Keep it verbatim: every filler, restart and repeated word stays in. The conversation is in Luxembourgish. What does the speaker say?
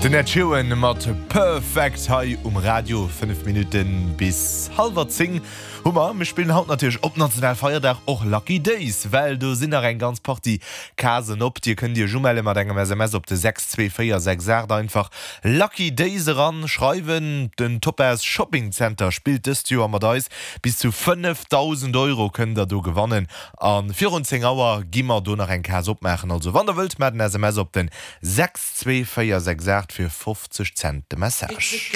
Den Ed Sheeran mat Perfect hei um Radio, fënnef Minutten bis hallwer zéng hu mer. Mir spillen haut natierlech op Nationalfeierdag och Lucky Days, well do sinn nach eng ganz Partie Casen op. Dir kënnt Iech umelle mat engem S M S op de sechs zwee véier sechs aacht, einfach Lucky Days eran schreiwen. Den Topaz Shopping Center spillt dëst Joer mat eis. Bis zu fënnefdausend Euro kënnt der do gewannen a virun zéng Auer gi mer do nach eng Case opmaachen. Also wann der wëllt, maacht en S M S op den sechs zwee véier sechs aacht, fir fofzeg Cent de Message.